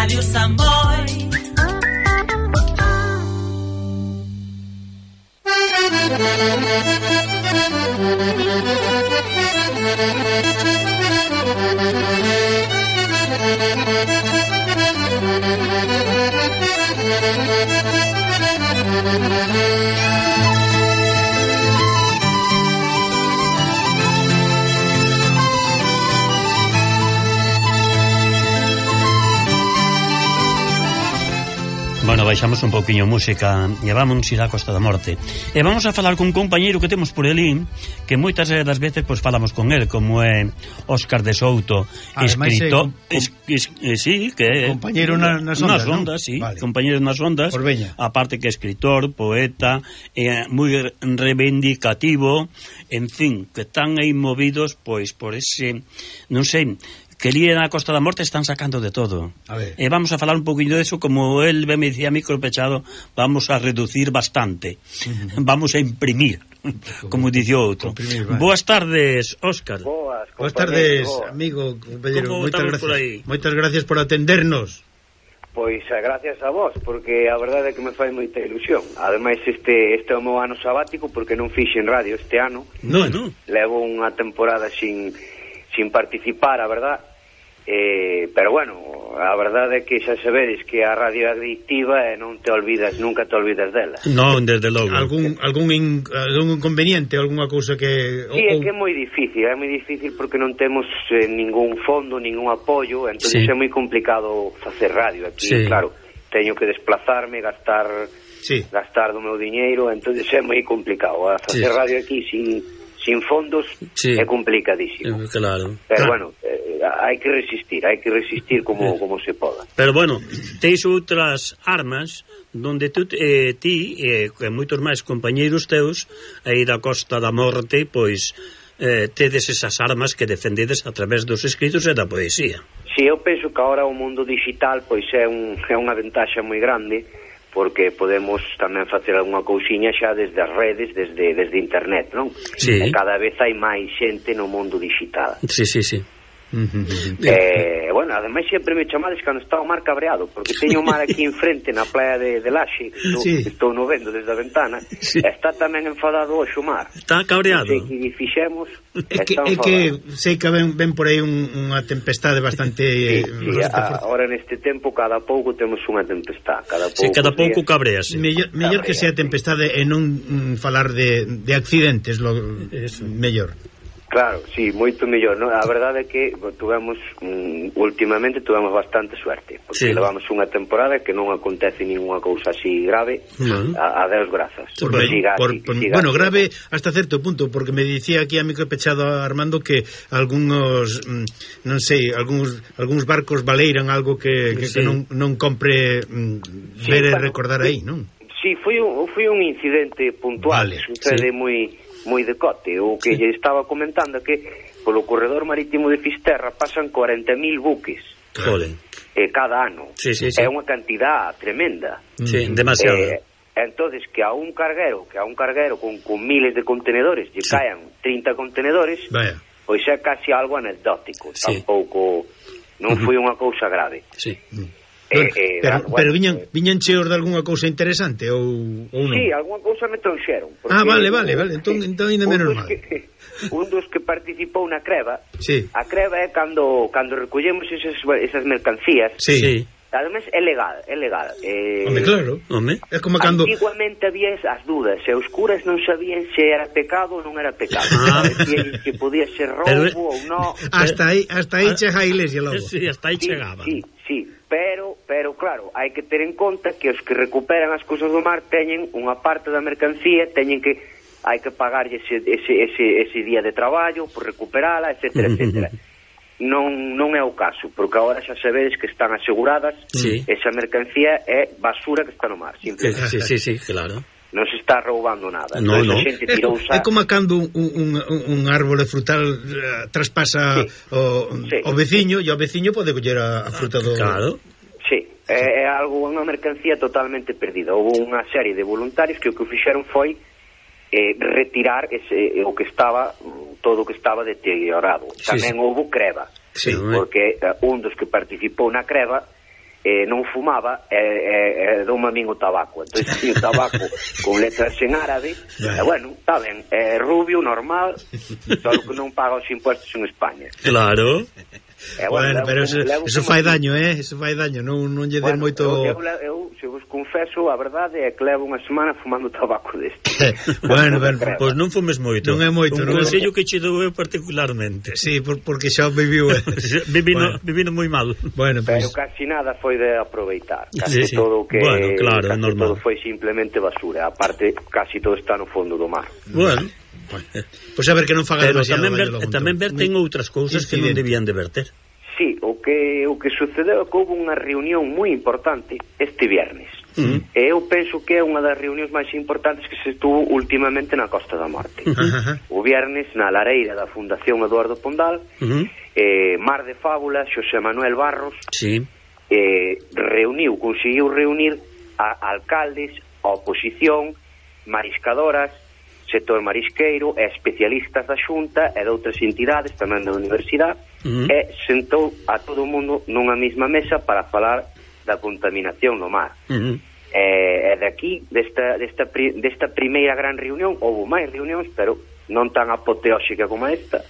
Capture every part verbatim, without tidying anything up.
Radio Samboy. Bueno, baixamos un pouquiño música e vamos ir á Costa da Morte. E vamos a falar cun compañeiro que temos por elín, que moitas das veces pois falamos con el, como é Óscar de Souto, escritor, es, es, es, sí, que é compañeiro na, nas ondas, nas ondas, ¿no? sí, vale. compañeiro nas ondas, aparte que é escritor, poeta, é moi reivindicativo, en fin, que están aí movidos pois por ese, non sei, que ali na Costa da Morte están sacando de todo. A ver. E vamos a falar un poquinho de eso, como él me dicía micro pechado, vamos a reducir bastante. Uh-huh. Vamos a imprimir, como dice outro. Boas tardes, Óscar. Boas, Boas tardes, boas. Amigo, compañero. Moitas gracias. Moitas gracias por atendernos. Pois a gracias a vos, porque a verdade é que me fai moita ilusión. Ademais, este este é o meu ano sabático, porque non fixen radio este ano. No, no. Levo unha temporada sin sin participar, a verdad, eh, pero bueno, a verdade é que xa sabedes que a radio é adictiva e non te olvidas, nunca te olvidas dela. Non, desde logo. Algún algún, in, algún inconveniente, algunha cousa que... Sí, é que é moi difícil, é moi difícil porque non temos eh, ningún fondo, ningún apoio, entón sí. É moi complicado facer radio aquí, sí. Claro, teño que desplazarme, gastar sí. gastar do meu diñeiro, entón é moi complicado, a facer sí. radio aquí sin... sin fondos sí. É complicadísimo. Claro. Pero claro. bueno, eh, hai que resistir, hai que resistir como, como se poda. Pero bueno, teis outras armas donde tú, eh, ti e eh, moitos máis compañeiros teus aí da Costa da Morte, pois eh, tedes esas armas que defendedes a través dos escritos e da poesía. Si, sí, eu penso que agora o mundo digital pois é, un, é unha ventaxa moi grande, porque podemos tamén facer algunha cousiña xa desde as redes, desde, desde internet, non? Sí. E cada vez hai máis xente no mundo digital. Sí, sí, sí. Eh, bueno, ademais sempre me chamades cando está o mar cabreado, porque teño o mar aquí enfrente na playa de, de Laxe, que estou, sí. estou no vendo desde a ventana, sí. Está tamén enfadado hoxe o mar. Está cabreado. Non sei que fixemos. É que, é que sei que ven, ven por aí un, unha tempestade bastante... Sí, sí, a, ahora neste tempo cada pouco temos unha tempestade, cada pouco. Sí, cada pouco cabrease. Mellor, mellor que sea tempestade e non mm, falar de, de accidentes, lo, es mellor. Claro, sí, moito mellor, non? A verdade é que tuvemos, um, últimamente tuvemos bastante suerte, porque sí. Levamos unha temporada que non acontece ninguna cousa así grave, uh-huh. a, a Deus grazas. Por, siga, por, por, siga, bueno, siga. Grave hasta certo punto, porque me dicía aquí a micro pechado Armando que algúns, mm, non sei, algúns, algúns barcos valeiran algo que, que, sí. que non, non compre mm, ver sí, e recordar aí, non? Sí, foi un, foi un incidente puntual, vale, sucede sí. moi... moi de cote, o que sí. lle estaba comentando que polo corredor marítimo de Fisterra pasan corenta mil buques. Joder. Eh, cada ano. Sí, sí, sí. É unha cantidad tremenda. Sí, demasiado. Eh, entonces que a un carguero, que a un carguero con, con miles de contenedores, lle sí. Caen trinta contenedores, vaya. Pois é casi algo anecdótico, sí. Tampouco non foi unha cousa grave. Sí. Eh, eh, pero, bueno, pero viñan, viñan cheos de algunha cousa interesante ou, ou non? Sí, algunha cousa me trouxeron. Ah, vale, vale, vale, entón, entón ainda menos mal. Que, un dos que participou na creva, sí. A creva é cando cando recollemos esas, esas mercancías. Sí. Sí. Además é legal, é legal. Eh, Home, claro. Home. É como cando antiguamente había as dudas, e os curas non sabían se era pecado ou non era pecado. Ah. Decían que podía ser roubo pero, ou non. Hasta aí, hasta aí chega a iglesia logo. Sí, hasta aí sí, chegaba. Sí, sí, pero pero claro, hai que ter en conta que os que recuperan as cousas do mar teñen unha parte da mercancía, teñen que hai que pagarlle ese ese ese ese día de traballo por recuperala, etcétera, etcétera. Non, non é o caso, porque agora xa sabedes que están aseguradas, sí. Esa mercancía é basura que está no mar, simplemente. Sí, sí, sí, claro. Non se está roubando nada. No, no. Xente tirou é, é como cando un, un, un árbore frutal uh, traspasa sí. o, sí. o veciño, e o veciño pode coller a, a fruta do... Claro. Sí, é, é algo, unha mercancía totalmente perdida. Houve unha serie de voluntarios que o que fixeron foi eh, retirar ese, o que estaba, todo o que estaba deteriorado. Sí, tamén sí. Houve creva, sí, porque uh, un dos que participou na creva eh, non fumaba e eh, eh, dou-me a min o tabaco. Entón, si o tabaco con letras en árabe, e bueno, está ben, é rubio, normal, só que non paga os impuestos en España. Claro. Eh, bueno, bueno, pero eso, eso fai daño, eh? Eso fai daño, non, non lle den bueno, moito... Eu, eu, eu, se vos confeso, a verdade é que levo unha semana fumando tabaco deste. Bueno, ben, pois pues non fumes moito. Non é moito. Un consello que che dou eu particularmente. Sí, por, porque xa viviu... vivino, bueno. vivino moi mal. Bueno, pero pues... casi nada foi de aproveitar. Casi sí, sí. todo que... Bueno, claro, casi normal. todo foi simplemente basura. Aparte, casi todo está no fondo do mar. Bueno... Pois pues a ver que non faga pero demasiado tamén ver, tamén verten outras cousas que non debían de verter. Sí, o que o que sucedeu é que houve unha reunión moi importante este viernes. Uh-huh. E eu penso que é unha das reunións máis importantes que se estuvo últimamente na Costa da Morte. Uh-huh. O viernes na lareira da Fundación Eduardo Pondal, uh-huh. eh, Mar de Fábulas, Xosé Manuel Barros, sí. eh, reuniu, conseguiu reunir a alcaldes, a oposición, mariscadoras, sector marisqueiro e especialistas da Xunta e de outras entidades tamén da universidade, uh-huh. e sentou a todo o mundo nunha mesma mesa para falar da contaminación no mar. Uh-huh. E, e de aquí, desta, desta, desta primeira gran reunión, houve máis reunións, pero non tan apoteóxica como esta,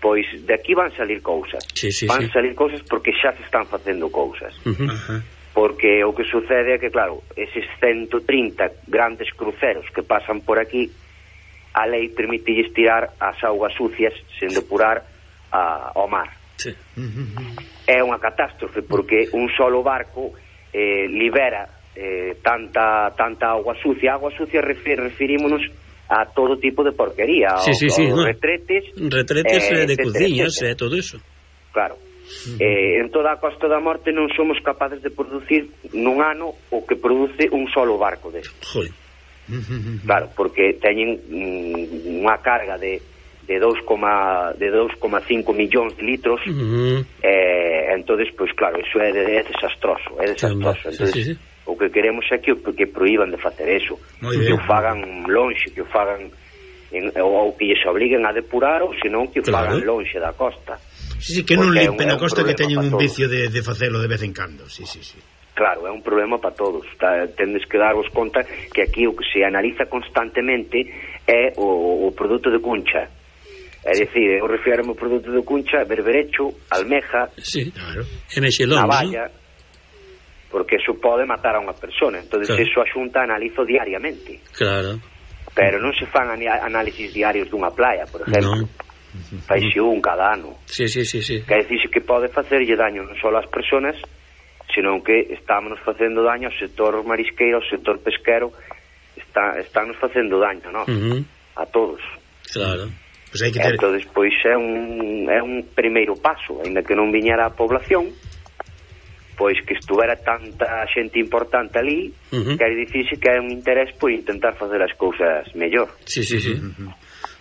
pois de aquí van salir cousas. Sí, sí, van sí. salir cousas porque xa se están facendo cousas. Uh-huh. Uh-huh. Porque o que sucede é que, claro, eses ciento trinta grandes cruceros que pasan por aquí, a lei permite tirar as augas sucias sen depurar a, ao mar. Sí. É unha catástrofe porque un solo barco eh, libera eh, tanta tanta auga sucia. Agua sucia refer, referímonos a todo tipo de porquería, sí, sí, sí, aos no. retretes, retretes eh, de etcétera, cociñas e eh, etcétera. todo eso. Claro. Uh-huh. Eh, en toda a Costa da Morte non somos capaces de producir nun ano o que produce un solo barco desto. Joder. Claro, porque teñen mm, unha carga de de dous coma cinco millóns de litros, uh-huh. eh, entonces, pois pues, claro, iso é, de, é desastroso, é desastroso. Entonces, sí, sí, sí. O que queremos é que, que prohíban de facer eso, que o fagan lonxe, que o fagan en, ou que lles obliguen a depurar, ou senón que o claro. fagan lonxe da costa. Sí, sí, que non limpen a costa, que teñen un vicio de, de facelo de vez en cando, sí, sí, sí. Claro, é un problema para todos. Tendes que darvos conta que aquí o que se analiza constantemente é o, o produto de cuncha. É dicir, eu refiero ao produto de cuncha, berberecho, almeja, sí, claro. Mexelón, navalla, ¿no? Porque eso pode matar a unha persona. Entón, claro. Eso a Xunta analizo diariamente. Claro. Pero non se fan análisis diarios dunha playa, por exemplo. No. Faixe un cada ano. Sí, sí, sí, sí. Que dicirse que pode facerlle daño non só ás persoas, senón que estámonos facendo daño ao sector marisqueiro, ao sector pesquero, está, estános facendo daño, non? Uh-huh. A todos. Claro. Pues hai que ter... Entón, pois é un, é un primeiro paso, ainda que non viñera a población, pois que estuvera tanta xente importante ali, uh-huh. que hai dicirse que hai un interés por intentar facer as cousas mellor. Sí, sí, sí. Uh-huh.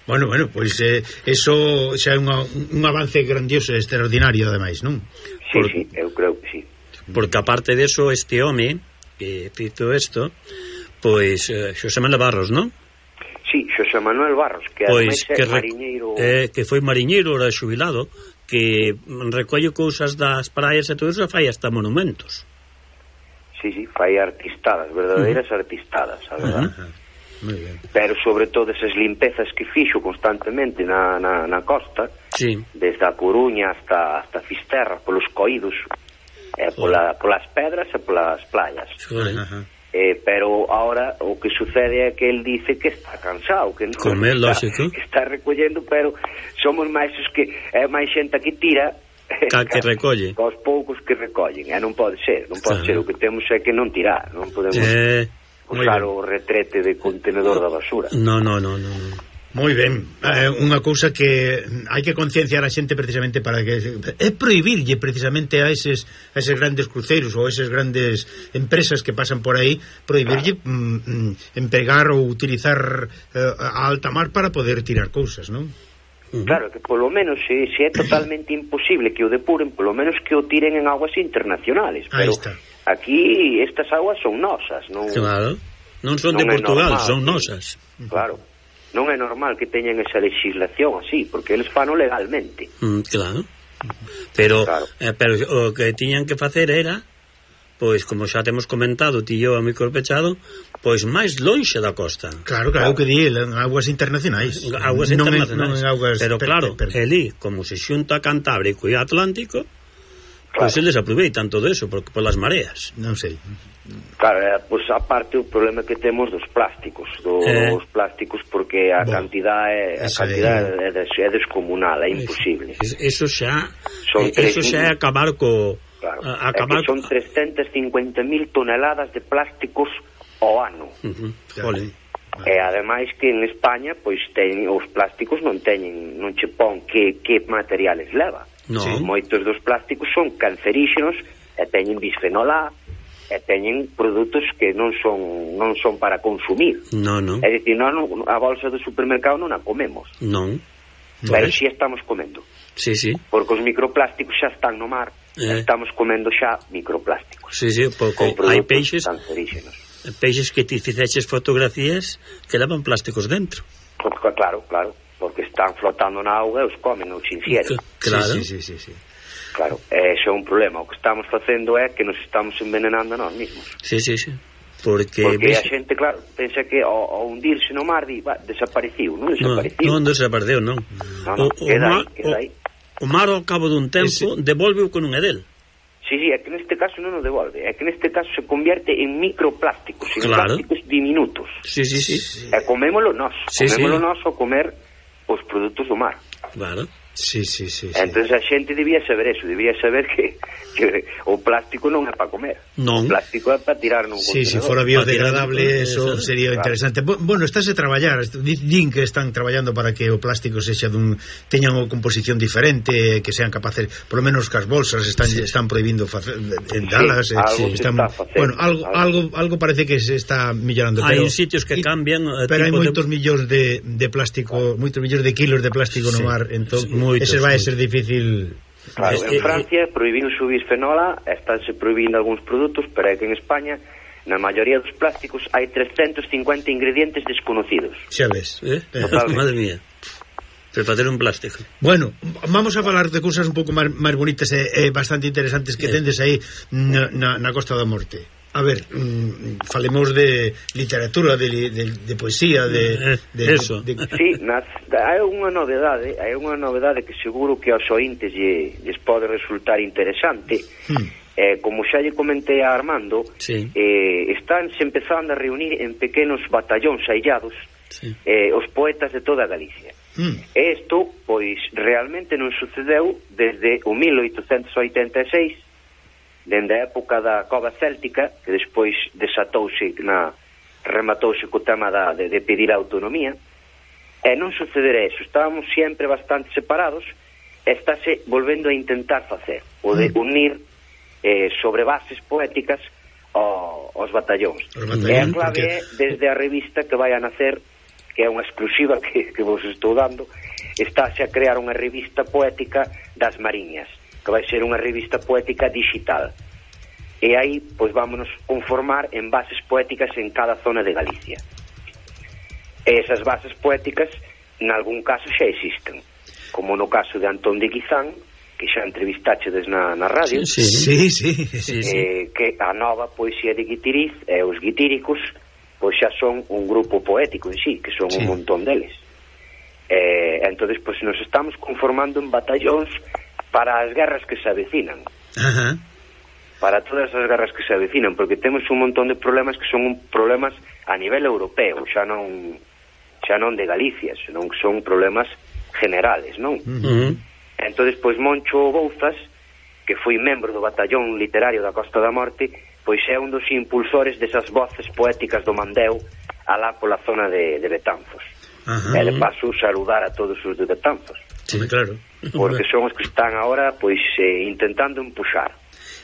Bueno, bueno, pois eh, eso xa é unha, un avance grandioso e extraordinario, ademais, non? Sí, por... sí, eu creo que sí. Porque aparte de eso, este home que fito isto, pois eh, Xosé Manuel Barros, non? Sí, Xosé Manuel Barros, que pois ademais que é mariñeiro... Eh, que foi mariñeiro, era xubilado, que recolle cousas das praias e todo eso, fai hasta monumentos. Sí, sí, fai artistadas, verdadeiras uh-huh. artistadas, a verdad. Uh-huh. Muy bien. Pero sobre todo esas limpezas que fixo constantemente na, na, na costa, sí. desde a Coruña hasta, hasta Fisterra, polos coídos, eh, pola, polas pedras e polas playas. Uh-huh. Eh, pero ahora o que sucede é que el dice que está cansado, que non Come, está, que está recollendo, pero somos máis os que é máis xente que tira ca que recolle, aos poucos que recollen, e non pode ser, non pode claro. ser, o que temos é que non tirar, non podemos eh, usar o retrete de contenedor da basura. No, no, no, no, no. Moi ben, eh, unha cousa que hai que concienciar a xente precisamente para que é prohibirlle precisamente a eses, a eses grandes cruceiros ou eses grandes empresas que pasan por aí, prohibirlle claro. mm, empregar ou utilizar eh, a alta mar para poder tirar cousas, non? Uh-huh. Claro, que polo menos se, se é totalmente imposible que o depuren, polo menos que o tiren en aguas internacionales, pero aquí estas aguas son nosas, non? Claro, non son non de Portugal, normal, son nosas. Claro. Non é normal que teñan esa legislación así, porque eles fano legalmente. Mm, claro. Pero, claro. Eh, pero o que tiñan que facer era pois, como xa temos comentado, ti e eu a micro pechado, pois máis lonxe da costa. Claro, claro, que di, en aguas internacionais. Aguas non internacionais. En, non en aguas pero per, claro, per, per. elí, como se xunta Cantábrico e Atlántico, claro, pois eles aproveitan todo eso por, por las mareas. Non sei. Claro, eh, pois aparte o problema que temos dos plásticos, dos eh. plásticos, porque a bueno, cantidad é a cantidad é, é, é descomunal, é imposible. Eso xa son eso xa é acabar co claro, a, acabar é que son trescientas cincuenta mil toneladas de plásticos ao ano. Uh-huh. Claro. E ademais que en España pois ten, os plásticos non teñen, non che pon que, que materiales leva. No. Sí, moitos dos plásticos son canceríxenos e teñen bisfenol A e teñen produtos que non son non son para consumir. No, no. É dicir, non, a bolsa do supermercado non a comemos. Non. Pero si estamos comendo. Sí, sí. Porque os microplásticos xa están no mar, eh. estamos comendo xa microplásticos. Sí, sí, porque hai peixes canceríxenos. Peixes que ti fixeches fotografías que levan plásticos dentro. Porque, claro, claro, porque están flotando na auga e os comen, os infieren. Claro. Sí, sí, sí, sí. Claro, eso é un problema. O que estamos facendo é que nos estamos envenenando nós mesmos. Sí, sí, sí. Porque, porque ves... a xente, claro, pensa que ao, ao hundirse no mar di, va, desapareciu, non desapareciu. Non, non desapareceu, non. No, no, o, queda o, aí, queda aí. O, o mar ao cabo dun tempo ese... devolve o que non é del. Sí, sí, é que neste caso non o devolve. É que neste caso se convierte en microplásticos, en claro, plásticos diminutos. Sí, sí, sí. E comémolo nós, sí, comémolo sí, nós ao comer os produtos do mar. Claro. Sí, sí, sí, sí. Entonces a xente debía saber eso, debía saber que, que o plástico non é para comer. Non. O plástico é para tirar nun sí, contenedor. Si fora biodegradable, eso eso sería claro, interesante. Bueno, estáse a traballar, din que están traballando para que o plástico sexa dun teñan unha composición diferente, que sean capaces, por lo menos que as bolsas están sí, están prohibindo facer en dalas, sí, algo están, está bueno, algo, algo algo parece que se está millorando, hai pero sitios que y, cambian, pero hai moitos de... millóns de, de plástico, moitos millóns de kilos de plástico sí, no mar, entón sí, ese vai a ser difícil. Claro, en Francia prohibiron subir fenola, estánse prohibindo algúns produtos, pero é que en España na maioría dos plásticos hai trescentos cincuenta ingredientes desconocidos. Xa ves, eh? Madre mía. Pero facer un plástico. Bueno, vamos a falar de cousas un pouco máis, máis bonitas e, e bastante interesantes que eh. tendes aí na, na, na Costa da Morte. A ver, mmm, falemos de literatura, de, de, de poesía, de, de, eso. De, de... Sí, nas, hai unha novedade, hai unha novedade que seguro que aos ointes lle, lles pode resultar interesante. Hmm. Eh, como xa lle comentei a Armando, sí, eh, estánse empezando a reunir en pequenos batallóns aillados, sí, eh, os poetas de toda Galicia. Hmm. E isto, pois, realmente non sucedeu desde o mil oitocentos oitenta e seis, dende a época da cova céltica, que despois desatouse na rematouse co tema da, de, de pedir a autonomía, e non sucederá eso. Estábamos sempre bastante separados e estáse volvendo a intentar facer o de unir eh, sobre bases poéticas ao, aos batallóns. E a clave é desde a revista que vai a nacer, que é unha exclusiva que, que vos estou dando, estáse a crear unha revista poética das Mariñas, que vai ser unha revista poética digital. E aí, pois, vámonos conformar en bases poéticas en cada zona de Galicia. E esas bases poéticas, en algún caso, xa existen. Como no caso de Antón de Guizán, que xa entrevistachedes na, na radio. Sí, sí, sí, sí, sí. Eh, que a nova poesía de Guitiriz e os guitíricos, pois xa son un grupo poético en sí, que son sí, un montón deles. Eh, entonces, pois, nos estamos conformando en batallóns para as guerras que se avecinan. Ajá. Para todas as guerras que se avecinan, porque temos un montón de problemas que son problemas a nivel europeo, xa non xa non de Galicia, senón que son problemas generales, non? Uh-huh. Entonces, pois, Moncho Bouzas, que foi membro do batallón literario da Costa da Morte, pois é un dos impulsores desas voces poéticas do Mandeo alá pola zona de, de Betanzos. Uh-huh. E de paso saludar a todos os de Betanzos. Sí, claro. Porque son os que están agora, pois, eh, intentando empuxar.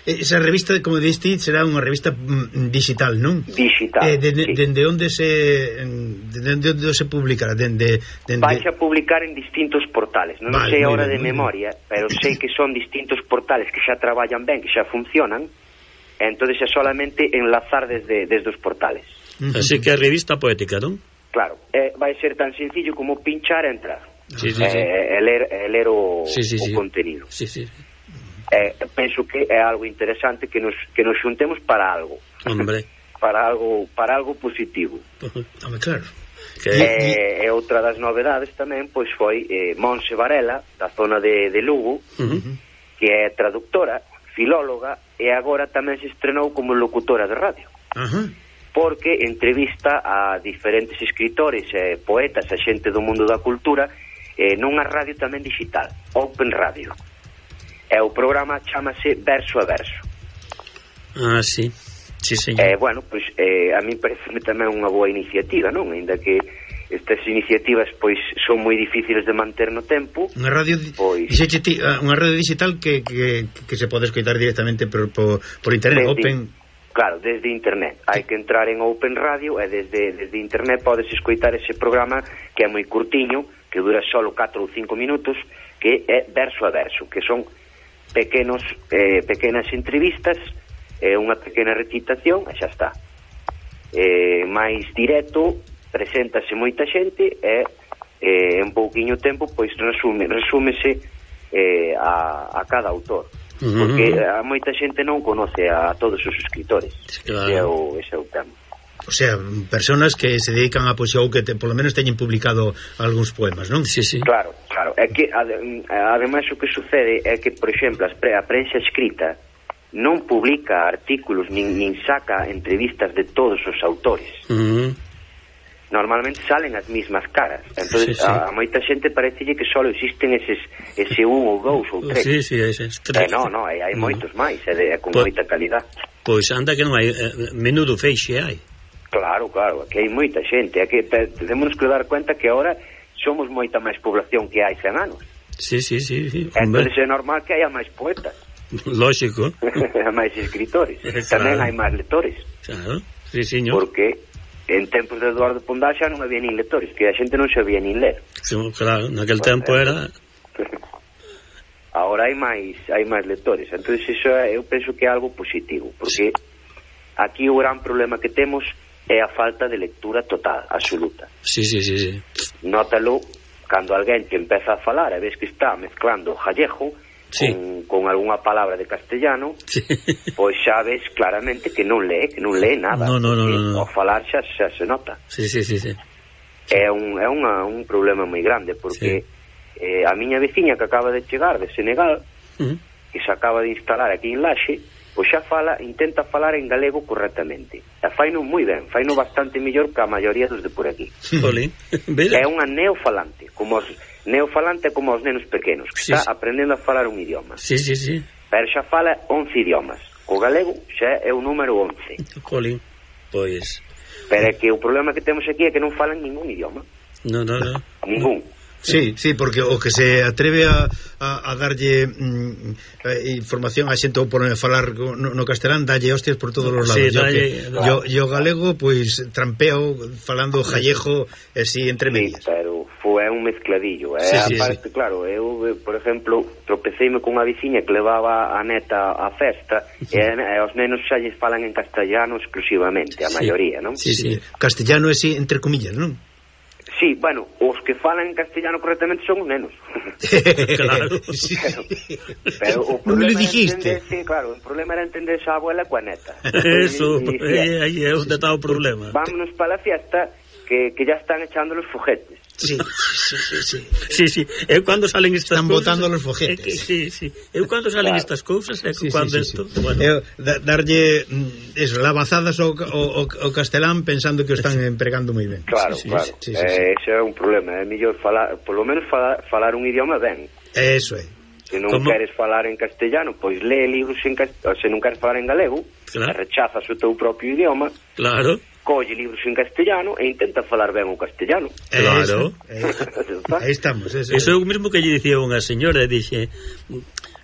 Esa revista, como diste, será unha revista mm, digital, non? Digital, eh, de, sí. Dende onde se dende onde se publicará? Dende, dende... Vais a publicar en distintos portales. Non vale, sei ahora de bien, memoria, pero sei que son distintos portales que xa traballan ben, que xa funcionan, e entón xa solamente enlazar desde, desde os portales. Uh-huh. Así que a revista poética, non? Claro, eh, vai ser tan sencillo como pinchar e entrar. Sí, sí, eh, sí. E ler, e ler o, sí, sí, o sí. contenido. Sí, sí. eh, penso que é algo interesante que nos, que nos xuntemos para algo. Hombre. para algo para algo positivo. Hombre, claro. Que... E, e outra das novedades tamén pois foi eh, Monse Varela, da zona de, de Lugo, uh-huh. que é traductora, filóloga, e agora tamén se estrenou como locutora de radio. Uh-huh. Porque entrevista a diferentes escritores, eh, poetas, a xente do mundo da cultura, eh, nunha radio tamén digital, Open Radio. E o programa chamase Verso a Verso. Ah, sí. Sí, señor. Eh, bueno, pois pues, eh, a mí parece tamén unha boa iniciativa, non? Ainda que estas iniciativas pois son moi difíciles de manter no tempo. Unha radio pois ti, unha radio digital que, que, que se pode escoitar directamente por, por, por internet, desde, Open. Claro, desde internet. Hai que entrar en Open Radio e desde, desde internet podes escoitar ese programa que é moi curtiño, que dura solo catro ou cinco minutos, que é Verso a Verso, que son pequenos eh, pequenas entrevistas, é unha pequena recitación e xa está. É máis directo, preséntase moita xente e eh, en pouquiño tempo pois resume, resúmese eh, a, a cada autor. Uh-huh. Porque a moita xente non conoce a todos os escritores. Claro. Ese é o, ese é o tema. O sea, personas que se dedican a poesía ou que te, polo menos teñen publicado algúns poemas, non? Sí, sí. Claro, claro. É que ademais o que sucede é que, por exemplo, a prensa escrita non publica artículos nin, nin saca entrevistas de todos os autores. Uh-huh. Normalmente salen as mismas caras. Entonces, sí, sí. A, a moita xente parecelle que só existen eses ese un ou dous ou tres. Sí, sí, eses tres. Eh, non, non, hai, hai uh-huh. moitos máis, é, de, é con po, moita calidad. Pois anda que non hai, eh, menudo feixe hai. Claro, claro, que hai moita xente. É que temos que dar cuenta que agora somos moita máis población que hai cen anos. Sí, sí, sí, sí. Entonces é normal que haya máis poetas. Lógico. máis escritores. Claro. Tamén hai máis lectores. Claro, sí, señor. Porque en tempos de Eduardo Pondal xa non había nin lectores, que a xente non sabía nin ler. Sí, claro, naquel pues, tempo era... Ahora hai máis hai máis lectores. Entonces iso eu penso que é algo positivo, porque aquí o gran problema que temos é a falta de lectura total, absoluta. Sí, sí, sí, sí. Nótalo cando alguén te empeza a falar e ves que está mezclando gallego, sí, con, con algunha palabra de castellano, sí, pois xa ves claramente que non lee, que non lee nada. No, no, no, no, no. Ao falar xa, xa se nota. Sí, sí, sí, sí. É un, é unha, un problema moi grande, porque sí. eh, a miña veciña que acaba de chegar de Senegal, uh-huh. que se acaba de instalar aquí en Laxe, pois xa fala, intenta falar en galego correctamente. E faino moi ben, faino bastante mellor que a maioría dos de por aquí. Jolín. É unha neofalante, como os neofalante como os nenos pequenos, que sí, está sí. aprendendo a falar un idioma. Sí, sí, sí. Pero xa fala once idiomas. O galego xa é o número once. Jolín, pois... Pero é que o problema que temos aquí é que non falan ningún idioma. No, no, no. Ningún. Sí, sí, porque o que se atreve a, a, a darlle mm, a información a xente ou por falar no, no castelán, dalle hostias por todos os lados. Sí, dalle, yo, que, yo, yo galego, pois pues, trampeo falando jallejo e si entre medias. Sí, pero foi un mezcladillo. Eh? Sí, sí, aparte, sí. Claro, eu, por exemplo, tropeceime con unha veciña que levaba a neta á festa sí. e, e os nenos xa lles falan en castellano exclusivamente, a sí. maioría, non? Sí, sí. Castellano é si, entre comillas, non? Sí, bueno, os que falan en castellano correctamente son os nenos. Claro. Sí. Pero, pero o problema era entenderse, claro, o problema era entenderse a abuela coa neta. Eso, aí é onde está o problema. Vámonos para a fiesta que, que ya están echando los foguetes. Sí, sí, sí, sí. Sí, sí. Eu cando salen estas están cousas, botando los foguetes. Que, sí, sí. Eu cando salen claro. estas cousas é sí, cando sí, sí, esto, sí. bueno. Eu da, darlle eso, lavazadas ao, ao, ao castelán pensando que o están empregando moi ben. Claro, sí, claro. Sí, sí, sí, eh, sí. Ese é un problema, é mellor falar, polo menos falar, falar un idioma ben. Eso é. Se non ¿Cómo? queres falar en castellano, pois lee libros en castellano, se non queres falar en galego, claro. rechazas o teu propio idioma. Claro. Colle libros en castellano e intenta falar ben o castellano. Claro. Aí estamos. Eso, eso é o mesmo que lle dicía unha señora, dixe,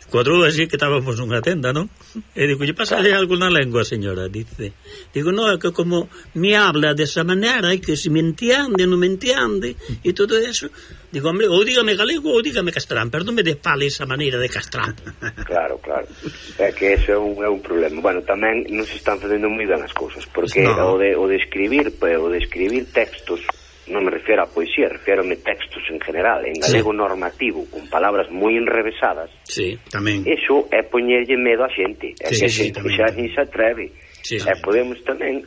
cuatro así que estábamos nunha tenda, non? E digo, lle pasa claro. algo na lengua, señora, dice. Digo, no, é que como me habla desa maneira, e que se me entiende, non me entiende, e todo eso. Digo, hombre, ou dígame galego ou dígame castrán, pero non me fale esa maneira de castrán. Claro, claro. É que eso é un, é un problema. Bueno, tamén non se están facendo moi ben as cousas, porque no. o, de, o de escribir, o de escribir textos non me refiero a poesía, refiérome textos en general, en galego sí. normativo, con palabras moi enrevesadas, sí, tamén. Iso é poñerlle medo a xente, é sí, que a sí, xente tamén, xa tamén. nin se atreve, sí, e podemos tamén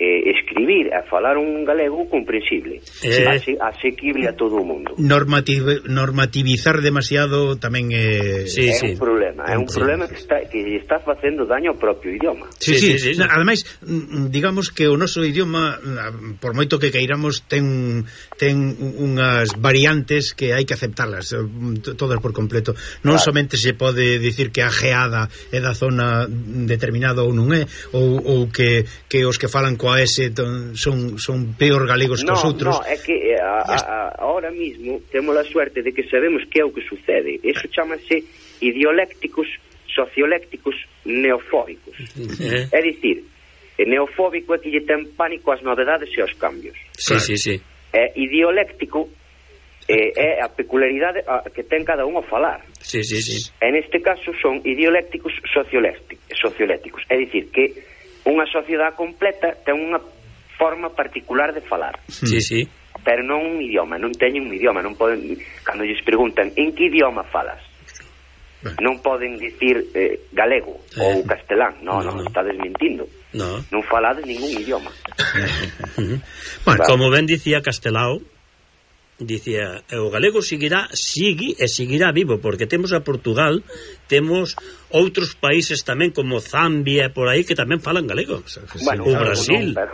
eh, escribir e falar un galego comprensible, eh... ase, asequible a todo o mundo. Normativ, normativizar demasiado tamén é... Sí, é sí. un problema, é un sí. problema que está, que está facendo daño ao propio idioma. Sí, sí, sí, sí, sí. Ademais, digamos que o noso idioma, por moito que queiramos, ten ten unhas variantes que hai que aceptarlas, todas por completo. Non claro. somente se pode dicir que a geada é da zona determinada ou non é, ou, ou que, que os que falan coa S son, son peor galegos que no, os outros. No, é que a, a, a, ahora mismo temos a suerte de que sabemos que é o que sucede. Eso chamase idiolécticos, sociolécticos, neofóbicos. Eh. É dicir, neofóbico é que lle ten pánico ás novedades e aos cambios. Sí, claro. sí, sí. É idioléctico é, é a peculiaridade que ten cada un ao falar. Sí, sí, sí. En este caso son idiolécticos sociolécticos. É dicir, que unha sociedade completa ten unha forma particular de falar. Sí, sí. Pero non un idioma, non teñen un idioma, non poden, cando lles preguntan en que idioma falas, bueno. non poden dicir eh, galego eh. ou castelán, non, non, no, no. estades mentindo. No. Non falades ningún idioma. Bueno, como ben dicía Castelao, dicía, o galego seguirá, sigue e seguirá vivo, porque temos a Portugal, temos outros países tamén como Zambia por aí que tamén falan galego. Bueno, o Brasil. Non, pero,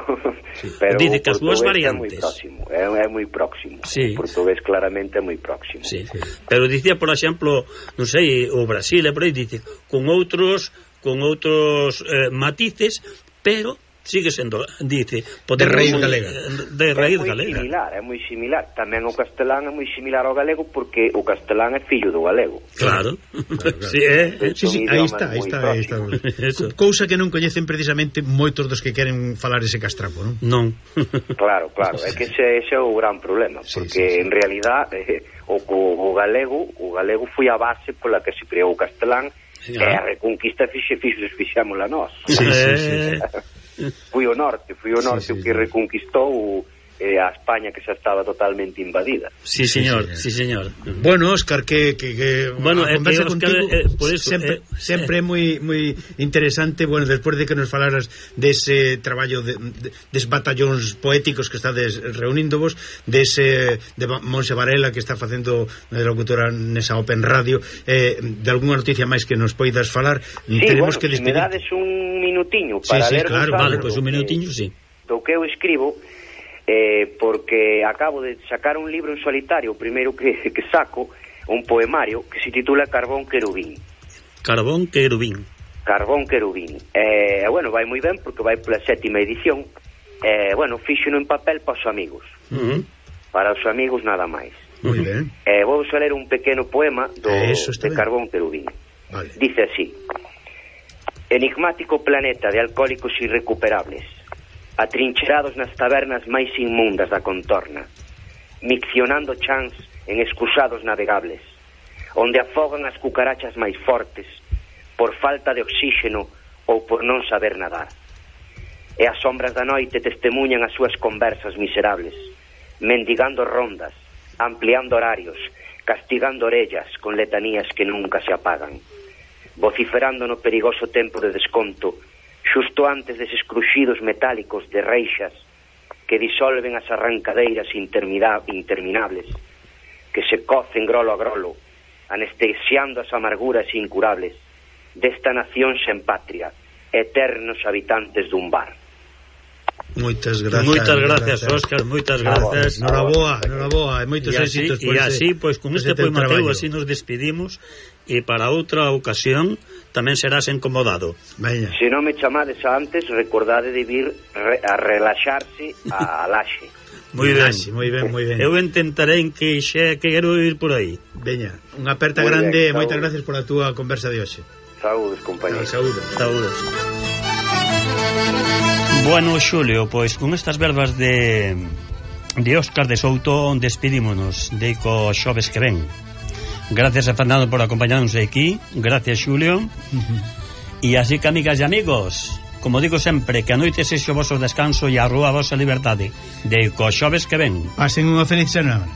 sí. pero dice que as súas variantes. É moi próximo, é, é moi próximo. Sí. O portugués claramente é moi próximo. Sí. Pero dicía, por exemplo, non sei, o Brasil, e por aí dice, con outros con outros eh, matices, pero sigue sendo, dice, de raíz galega. De raíz é moi galega. Similar, é moi similar. Tamén o castelán é moi similar ao galego porque o castelán é fillo do galego. Claro. claro, claro. Sí, eh. sí, sí, aí está, aí está, aí está. Cousa que non coñecen precisamente moitos dos que queren falar ese castrapo, non? Non. Claro, claro, é que ese, ese é o gran problema, porque sí, sí, sí. en realidad eh, o, o galego, o galego foi a base pola que se creou o castelán, e a reconquista fixe fixe fixámola nós. Sí, sí, sí. Fui o norte, fui o norte sí, sí, o que sí. reconquistou eh, a España que xa estaba totalmente invadida. Sí, señor, sí, señor. Bueno, Óscar, que, que, que bueno, a conversa Óscar, contigo eh, por eso, sempre, eh, sempre é eh. moi moi interesante, bueno, despois de que nos falaras dese traballo de, de, des batallóns poéticos que estades reuníndovos, dese de Monse Varela que está facendo de locutora nesa Open Radio, eh, de algunha noticia máis que nos poidas falar, sí, tenemos bueno, que despedir. Si me dades un minutiño para sí, sí, ler claro, vale, pois pues un minutiño, sí. Do que eu escribo, eh, porque acabo de sacar un libro en solitario, o primeiro que, que saco, un poemario que se titula Carbón Querubín. Carbón Querubín. Carbón Querubín. Eh, bueno, vai moi ben porque vai pola sétima edición. Eh, bueno, fíxeno en papel para os amigos. Uh -huh. Para os amigos nada máis. Moi ben. Eh, vou a ler un pequeno poema do, de Carbón Querubín. Vale. Dice así: enigmático planeta de alcohólicos irrecuperables, atrincherados nas tabernas máis inmundas da contorna, miccionando chans en excusados navegables, onde afogan as cucarachas máis fortes por falta de oxígeno ou por non saber nadar. E as sombras da noite testemunhan as súas conversas miserables, mendigando rondas, ampliando horarios, castigando orellas con letanías que nunca se apagan, vociferando no perigoso tempo de desconto, xusto antes deses cruxidos metálicos de reixas que disolven as arrancadeiras interminables, que se cocen grolo a grolo, anestesiando as amarguras incurables desta nación sen patria, eternos habitantes dun bar. Moitas gracias. Moitas gracias, Óscar, moitas gracias. Noraboa, noraboa, e moitos e así, éxitos por e así, pois, con este poemateo así nos despedimos, e para outra ocasión tamén serás incomodado. Veña. Se non me chamades antes, recordade de vir re, a relaxarse a Laxe. Moi ben, moi ben, moi ben. Eu intentarei que xe quero ir por aí. Veña, unha aperta muy grande, ben, moitas gracias pola túa conversa de hoxe. Saúdes, compañeros. Saúdes. Saúdes. Bueno, Xulio, pois con estas verbas de de Óscar de Souto despedímonos de co xoves que ven. Gracias a Fernando por acompañarnos aquí. Gracias, Xulio. Uh -huh. E así que, amigas e amigos, como digo sempre, que a noite sexe o vosso descanso e a rúa a vosa liberdade. De co xoves que ven. Pasen unha feliz semana.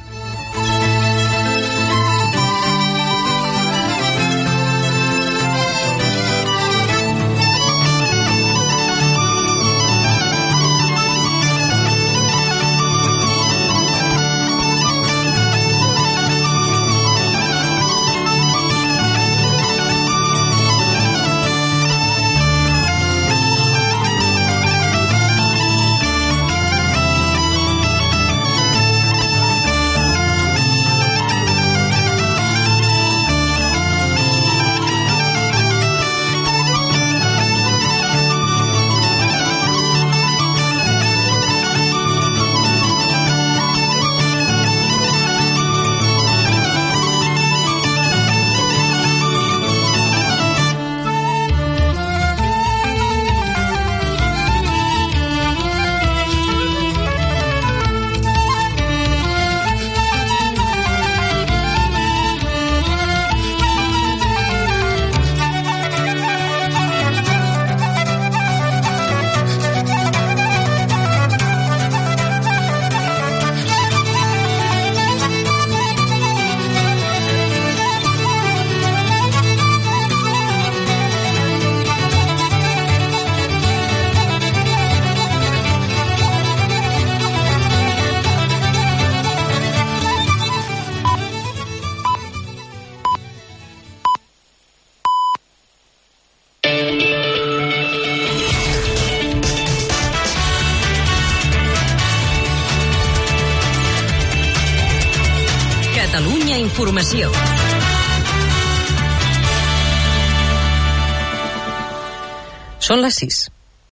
Informació. Són les sis.